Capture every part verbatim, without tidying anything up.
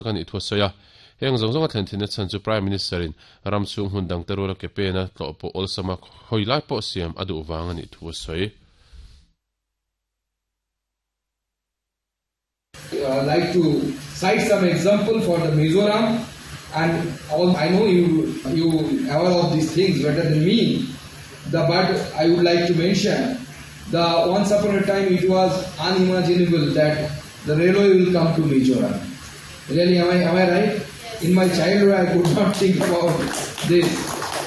Kan i thu soya heng zong zong a thlen thin chan chu Prime Minister in ram chung hun dang terula ke pe na tlo po olsama hoilai po siam adu wang ani thu soi. Uh, like to cite some example for the Mizoram, and all I know you you aware of these things better than me. The but I would like to mention the once upon a time it was unimaginable that the railway will come to Mizoram. Really, am I am I right? Yes. In my childhood, I could not think about this.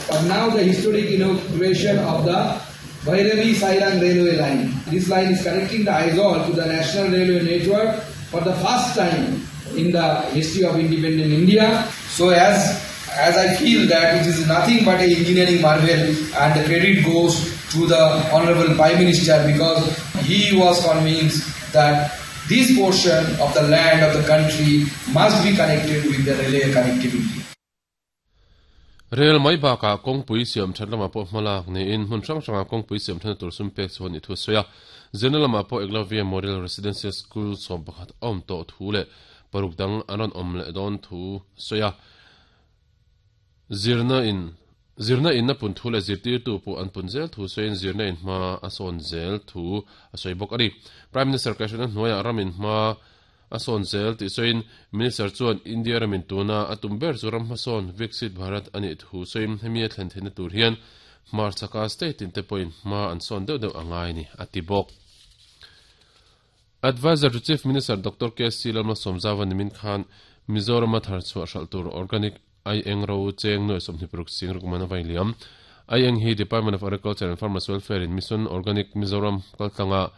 But now the historic inauguration of the Bhairavi Sairang railway line. This line is connecting the Aizawl to the national railway network for the first time in the history of independent India. So as, as I feel that it is nothing but an engineering marvel, and the credit goes to the Honorable Prime Minister, because he was convinced that this portion of the land of the country must be connected with the railway connectivity. Rail mai baka kongpui siam thatlama po hmalak ni in hmun hrang hranga kongpui siam thana tur sum pek chuan i thu soya Zenalama po Eklavya Model Residential School som pakhat awm to thu le paruk dang anon awm le don thu soya zirna in zirna in na pun thu le zirtir tu pu an pun zel thu soin zirna in hma ason zel thu a soi bok ani. Prime Minister Krishna hnuaia ramin hma ason zel ti soin Minister chuan India ramin tuna atum ber chu ram hmasawn Viksit Bharat ani thu soin hemi a thlen theihna tur hian Hmar chaka state in te pawhin hma an sawn deuh deuh angai ni ati bawk. Advisor to Chief Minister Doctor K C Lalma Somzawa nimin khan Mizoram a thar chhuah hral tur organic ai eng ro cheng noi sawmhnih paruk sing rukman a vai liam. Ai eng hi Department of Agriculture and Farmers Welfare in Mission Organic Mizoram kaltlanga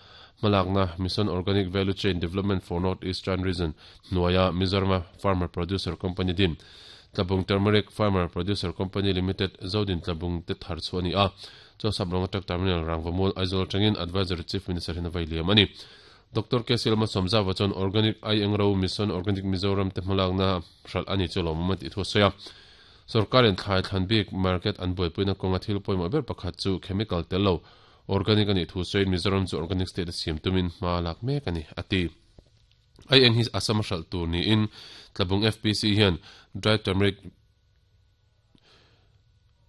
hmalakna Mission Organic Value Chain Development for North Eastern Region hnuaia Mizoram Farmer Producer Company din Tlabung Turmeric Farmer Producer Company Limited Zodin Tlabung te thar chu ani a chaw sabrong atak terminal Rangvamul Aizawl tangin Advisor Chief Minister hin a vai liam ani. Doctor K C Lalma Somzawa chuan Organic ai eng ro Mission Organic Mizoram te hmalakna hral ani chu lawm ti thu soya sarkarin thlai thlan bik market an buaipuina kawnga thil pawimawh ber pakhat chu chemical tello organic ani thu soin Mizoram chu organic state a siam tumin hma lak mek ani ati. Ai eng hi Assam hral tur ni in Tlabung F P C hian dry turmeric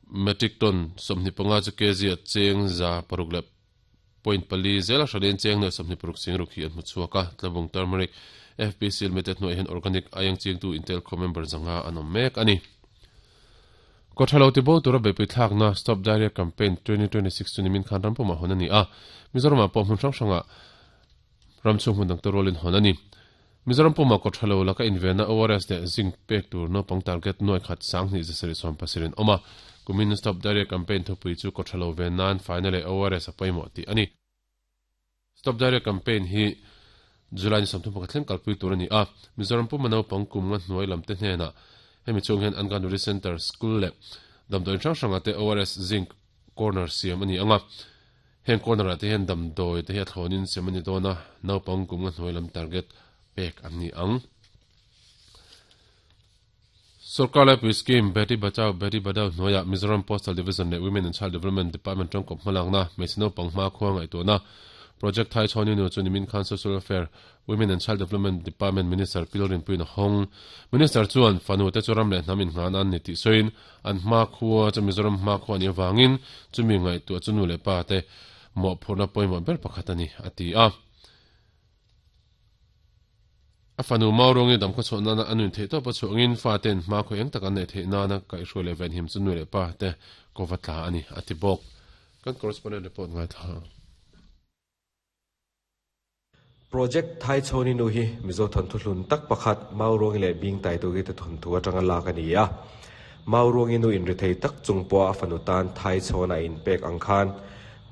metric ton sawmhnih panga chu kg a cheng za paruk le point pali zela hralin cheng noi sawmhnih paruk sing ruk hi an hmu chhuak a. Tlabung Turmeric F P C Limited hnuai hian organic aieng ching tu Intel khaw member zanga an awm mek ani. Kothalo ti bo tura beipui thlakna Stop Diarrhea Campaign twenty twenty-six chu nimin khan rampuma hawn ani a. Mizoram ah pawh hmun hrang hranga ramchhung hmun dang te rualin hawn ani. Mizoram puma kothalo laka invena O R S le zinc pek tur naupang target nuai khat sanghnih zasarih sawm pasirin awm a. Kumin Stop Diarrhea Campaign thupui chu kothalo ve nan final e O R S a pawimawh tih ani. Stop Diarrhea Campaign hi July ni sawmthum pakhat thleng kalpui tur ani a. Mizoram puma naupang kum nga hnuai lam te hnenah hemi chung hian Anganwadi Center School le damdawi hrang hranga te O R S zinc corner siam ani anga. Heng corner ah te hian damdawi te hi a thlawnin siam ani dawn a naupang kum nga hnuai lam target pek ani ang. Sarkar Laipui Scheme Beti Bachao Beti Padhao hnuaia Mizoram Postal Division le Women and Child Development Department tangkawp hmalakna hmeichhe naupang hma khua ngaihtuahna Project Thai Chhawni nu chu nimin khan Social Welfare Women and Child Development Department Minister Pilrin Puin Hong Minister chuan fanu te churam le hnamin ngan an ni ti soin an hma khua chu Mizoram hma khua ni awangin chumi ngaihtuah chu nu le pa te mawh phurna pawimawh ber pakhat ani ati a. A fanu maurongi dam khaw chhuah nana anun theih tawp a chhuangin fa ten hma khaw eng tak an nei theih nana kaihhruai leh ven him chu nu le pa te kawva tla ani ati bawk. Kan correspondent report ngai thla. Project Thai Chhawni nu hi Mizo thon thu hlun tak pakhat maurongi le bing tai tu gi te thon thu atanga lak ani a. Maurongi nu in ri thei tak chung pawh a fanu tan Thai Chhawna in pek ang khan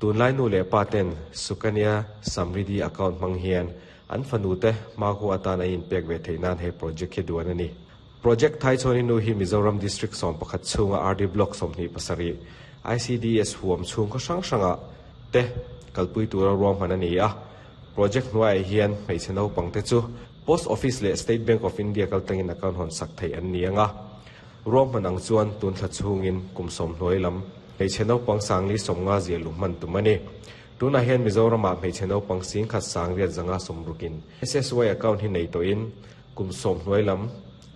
tunlai nu le pa ten Sukanya Samriddhi account hmang hian an fanu te hma khu atan a in pek ve theih nan he project hi duan ani. Project Thai Chhawni nu hi Mizoram District sawm pakhat chhunga R D Block sawmhnih pasarih I C D S huam chhung khaw hrang hranga te kalpui tura ruam hman ani a. Project hnuai hian hmeichhe naupang te chu Post Office le State Bank of India kaltangin account hawn sak thei an ni anga. Ruam hman ang chuan tun thla chhungin kum sawm hnuai lam hmeichhe naupang sangli sawmnga zia lu hman tum ani. Tunah hian Mizoram ah hmeichhe naupang sing khat sang riat zanga sawm rukin S S Y account hi nei tawhin kum sawm hnuai lam